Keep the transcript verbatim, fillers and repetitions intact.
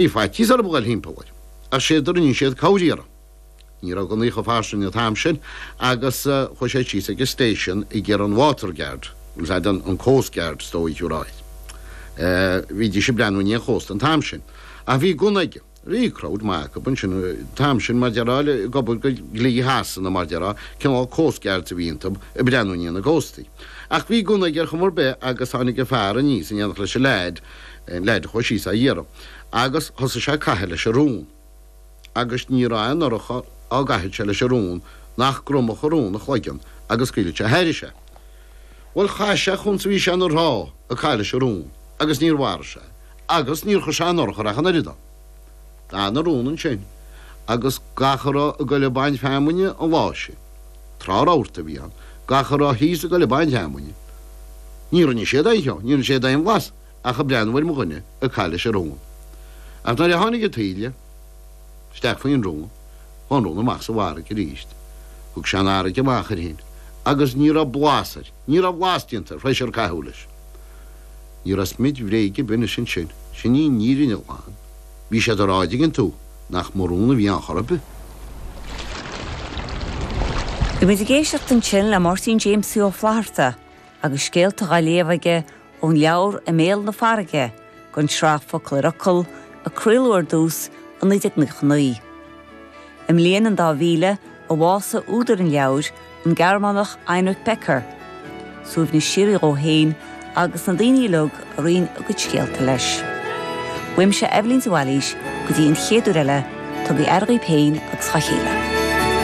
Bhí faitíos orthu a ghoil thimpeall air, ach séard a rinne siad cabhair a iarraidh. Ní raibh gunnaí chomh fairsing an t-am sin agus chuaigh sé síos ag an station ag iarraidh an water guard, bhuel is an coast guard is dóigh a rá air. Bhídís ag breathnú i ndiaidh an chósta an t-am sin. Ach bhí gunna aige. Bhí crowd maith acu ansin an t-am sin mar déarfá ag obair do dhlí Shasana mar déarfá, cineál coast guards a bhí iontu ag breathnú i ndiaidh na gcóstaí. Ach bhí gunna aige ar chuma ar bith agus tháinig an fear aníos in éineacht leis an leaid, an leaid a chuaigh síos á iarraidh, agus thosaigh sé ag caitheamh leis an rún, agus ní raibh aon urchar á gcaitheadh sé leis an rún nach gcromfadh an rún a chloigeann agus scaoilfeadh sé thairis é. Bhuel, chaith sé chúns a bhí sé ina thrá ag caitheamh leis an rún, agus níor mharaigh sé, agus níor chuir sé aon urchar ach an oiread dó. D'fhan an rún ansin, agus gach a raibh ag goil ag baint feamainne an lá sin, tráth rabharta a bhí ann, gach a raibh thíos ag goil ag baint feamainne, ní rinne siad aon cheo, ní rinne siad aon bhlas. ach ag breathnú ar mo dhuine ag caitheamh leis an rún. Ach nuair a tháinig an taoille isteach faoin rún, chuaigh an rún amach sa bhfarraige arís. Thug sé an fharraige amach air féin agus ní raibh blas air, ní raibh blas déanta air, th'éis ar caitheadh leis. Ní raibh smid bhréige ar bith anois ansin, sin í an fhírinne ghlan. Bhí siad ag rá, an dtuigeann tú, nach mo rún a bhí ann chor ar bith. Bhí muid ag éisteacht ansin le Máirtín Jamesie Ó Flatharta agus scéalta dhá léamh aige ón leabhar I mBéal na Farraige, den tsraith Focal ar Fhocal, a craoladh ar dtús i naoi déag nócha naoi. I mbliain an dá mhíle a bhásaigh údar an leabhair, an Gearmánach Heinrich Becker. Suaimhneas síoraí dhó féin agus na daoine uilig a roinn a gcuid scéalta leis. Uaimse Eibhlín de Bhailís go dtí an chéad uair eile, tugaigí aire dhaoibh féin agus dhá chéile.